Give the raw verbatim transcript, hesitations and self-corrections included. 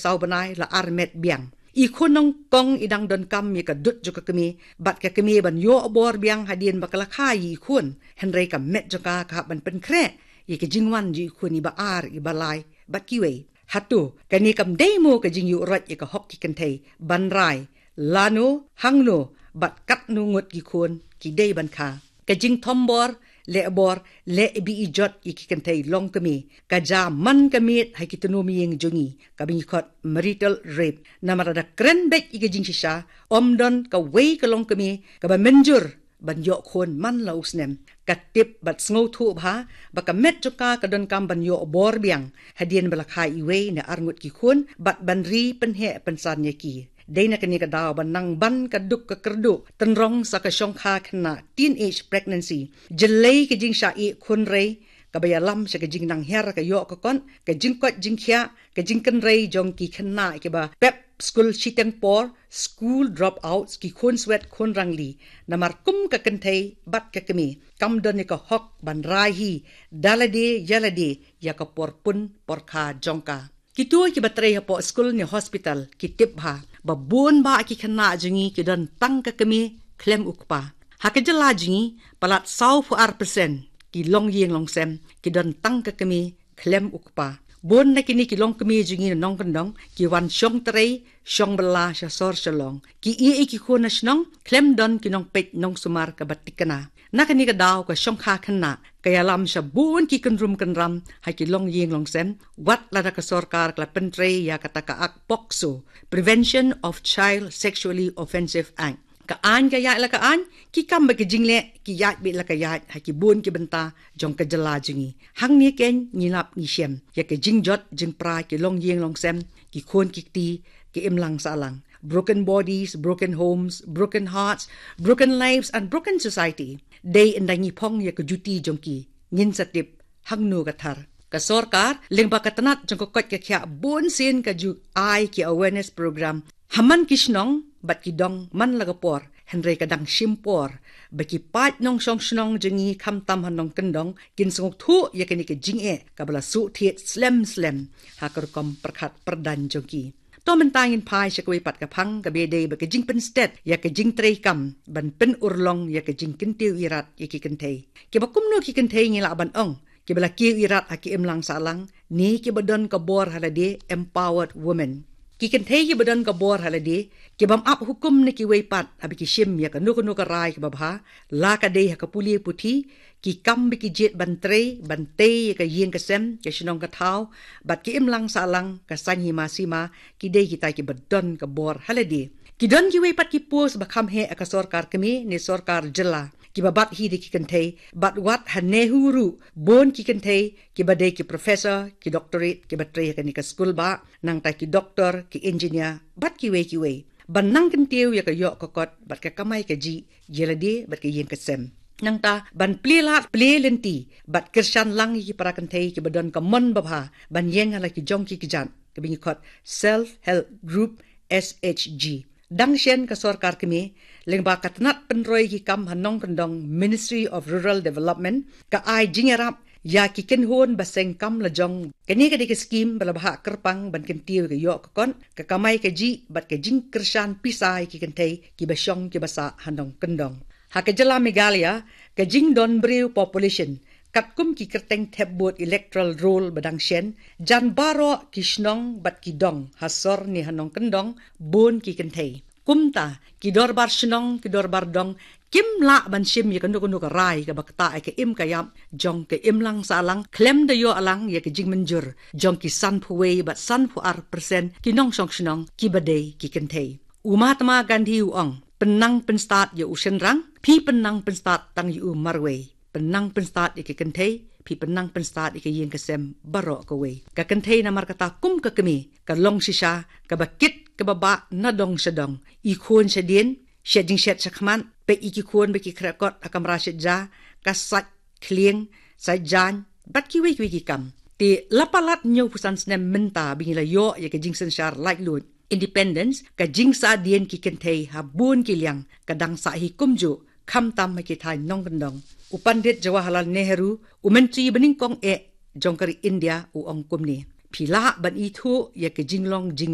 saw bnai la ar met biang. I khun nyngkong i dang donkam ïa ka dud jong ka kmie bad ka kmie ban ïoh bor biang hadien ba ka la kha ïa i khun. Hynrei ka met jong ka ka hap ban pynkhreh ïa ka jingwan jong i khun iba ar, iba lai bad kiwei. Hato kane kam dei mo ka jingïuhroit ïa ka hok ki kynthei ban rai lano, hangno bad katno ngut ki khun ki dei ban kha? Ka jingthombor, lehbor, leh bieit jot ïa ki kynthei longkmie ka jia man ka miet ha ki tnum ïing jong ngi, kaba ngi khot marital rape. Namar lada kren beit ïa ka jingshisha, ym don kawei ka longkmie kaba mynjur ban ïoh khun man la u snem. Ka tip bad sngewthuh bha ba ka met jong ka ka donkam ban ïoh bor biang hadien ba la kha iwei ne ar ngut ki khun bad ban ri pynheh pynsan ïa ki. Dei na kane ka daw ba nang ban ka duk ka kyrduh tynrong sa ka shongkha khynnah, teenage pregnancy, jyllei ka jingshah ïeh khun rei kaba ïalam sha ka jingnang hiar ka ïoh ka kot, ka jingkoit jingkhiah, ka jingkynrei jong ki khynnah kiba pep skul shiteng por, school dropouts, ki khun swet khun rangli. Namar kum ka kynthei bad ka kmie, kam don ïa ka hok ban rai hi da lade ïa lade ïa ka por pun por kha jong ka. Kito kiba trei hapoh skul ne hospital ki tip bha ba bun bah ki khynnah jong ngi ki don tang ka kmie khlem u kpa. Ha ka jylla jong ngi, palat sawphew ar percent ki longïing longsem ki don tang ka kmie khlem u kpa. Bun na kine ki longkmie jong ngi na nongkyndong ki wan shong trei shong bylla sha sor Shillong. Ki ïeh ïa ki khun na shnong khlem don ki nongpeit nongsumar kaba thikna. Na kane ka daw ka shongkha khynnah ka ïalam sha bun ki kynrum kynram ha ki longïing longsem, wat lada ka sorkar ka la pyntrei ïa kata ka Act POCSO, Prevention of Child Sexually Offensive Act. Ka aiñ ka ïaid la ka aiñ, ki kam bad ka jingleh ki ïaid beit la ka ïaid ha ki bun ki bynta jong ka jylla jong ngi. Hangne kein ngi lap ngi shem ïa ka jingjot jingpra ki longïing longsem, ki khun ki kti, ki imlang sahlang. Broken bodies, broken homes, broken hearts, broken lives and broken society. Dei ynda ngi phong ïa ka juti jong ki, ngin sa tip hangno ka thar. Ka sorkar lyngba ka tnat jong ka koit ka khiah bun sien ka ju ai ki awareness program ha man ki shnong bad ki dong man la ka por. Hynrei ka dang shim por ba ki paid nongshong shnong jong ngi khamtam ha nongkyndong kin sngewthuh ïa kane ka jingeh kaba la shu thied slem slem ha ka rukom pyrkhat pyrdan jong ki. To mynta ngin phai sha kawei pat ka phang kaba dei bad ka jingpynstet ïa ka jingtrei kam ban pynurlong ïa ka jingkyntiew irat ïa ki kynthei. Kiba kumno ki kynthei ngi lah ban ong kiba la kiew irat ha ki imlang sahlang ne kiba don ka bor ha lade, empowered women. Ki kynthei kiba don ka bor ha lade, ki bym ap hukum na kiwei pat haba ki shim ïa kano kano ka rai kaba bha, la ka dei ha ka pule puthi, ki kam ba ki jied ban trei ban tei ïa ka ïing ka sem, ka shnong ka thaw bad ki imlang sahlang, ka saiñ hima sima, ki dei kita kiba don ka bor ha lade. Ki don kiwei pat ki post ba kham heh ha ka sorkar kmie ne sorkar jylla kiba bat hi da ki kynthei, bad wat ha NEHU ruh bun ki kynthei kiba dei ki professor, ki doctorate, kiba trei ha kane ka skul bah, nangta ki doktor, ki engineer bad kiwei kiwei. Ban nang kyntiew ïa ka ïoh ka kot bad ka kamai kajih ïa lade bad ka ïing ka sem. Nangta ban plie lad plie lynti bad kyrshan lang ïa ki para kynthei kiba don ka mon babha ban ïeng ha la ki jong ki kjat, kaba ngi khot self help group, S H G. Dang shen ka sorkar kmie lyngba ka tnat pynroi ki kam ha nongkyndong, Ministry of Rural Development, ka ai jingïarap ïa ki kynhun ba seng kam lajong. Kane ka dei ka skim ba la bhah kyrpang ban kyntiew ïa ka ïoh ka kot, ka kamai kajih bad ka jingkyrshan pisa ïa ki kynthei kiba shong kiba sah ha nongkyndong. Ha ka jylla Meghalaya, ka jingdon briew population katkum ki kyrteng thep vote, electoral roll, ba dang shen, jan baroh ki shnong bad ki dong ha sor ne ha nongkyndong bun ki kynthei. Kumta ki dorbar shnong, ki dorbar dong kim lah ban shim ïa kano kano ka rai kaba ktah ïa ka im ka ïap jong ka imlang sahlang khlem da ïoh lang ïa ka jingmynjur jong ki sanphew wei bad sanphew ar percent ki nongshong shnong kiba dei ki kynthei. U Mahatma Gandhi u ong, pynnang pynstad ïa u shynrang, phi pynnang pynstad tang ïa u marwei. Pynnang pynstad ïa ki kynthei, phi pynnang pynstad ïa ka ïing ka sem baroh kawei. Ka kynthei namar kata kum ka kmie ka long shisha kaba kit kaba bah na dong sha dong. I khun shadien, shet jingshet shakhmat, peit ïa ki khun ba ki khreh kot ha kamra shet ja, ka sait khlieng, sait jaiñ bad kiwei kiwei ki kam. Te la palat hynñiewphew san snem mynta ba ngi la ïoh ïa ka jingsynshar laitluid, independence, ka jingsahdien ki kynthei ha bun ki liang ka dang sah hi kumjuh, khamtam ha ki thaiñ nongkyndong. U Pandit Jawaharlal Nehru, u Myntri banyngkong eh jong ka ri India, u ong kumne: Phi lah ban ithuh ïa ka jinglong jing